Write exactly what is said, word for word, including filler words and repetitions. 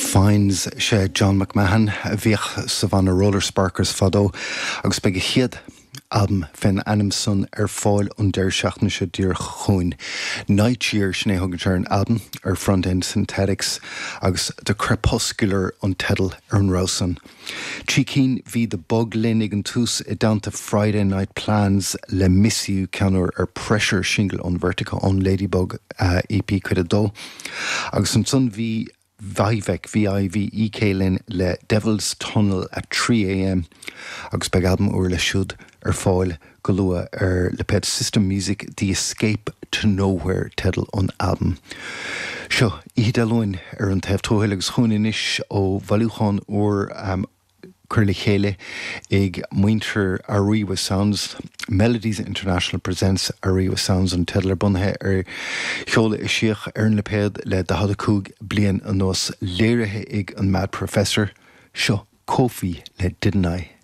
Finds sé John McMahon a bhíodh sa bhanna Roller Sparkers fadó agus beidh a chéad albam fén ainm san ar fáil an deireadh seachtaine seo díreach chugainn. Night Year sin é thugann sé ar an albam ar Front End Synthetics agus The Crepuscular an teideal ar an rogha san. Trí cinn bhí The Bug linn ag an tús i dteannta Friday Night Plans le Miss You ceann úr ar Pressure single ón Vertigo ón Ladybug uh, EP cuid a dó. Agus ansan bhí Vivek VIVEK linn le Devil's Tunnel at three AM agus beidh albam úr leis siúd ar fáil go luath ar lipéad System Music The Escape to Nowhere teideal an albam. Seo Oíche Dé Luain ar an taobh tuathail agus chugainn anois ó bhailiúchán úr um, curtha le chéile ag muintir Ariwa Sounds. Melodies International Presents Ariwa Sounds an teideal bunaithe ar cheol a eisíodh ar an lipéad le daichead a cúig bliain anuas léirithe ag an Mad Professor seo Kofi le Didn't I.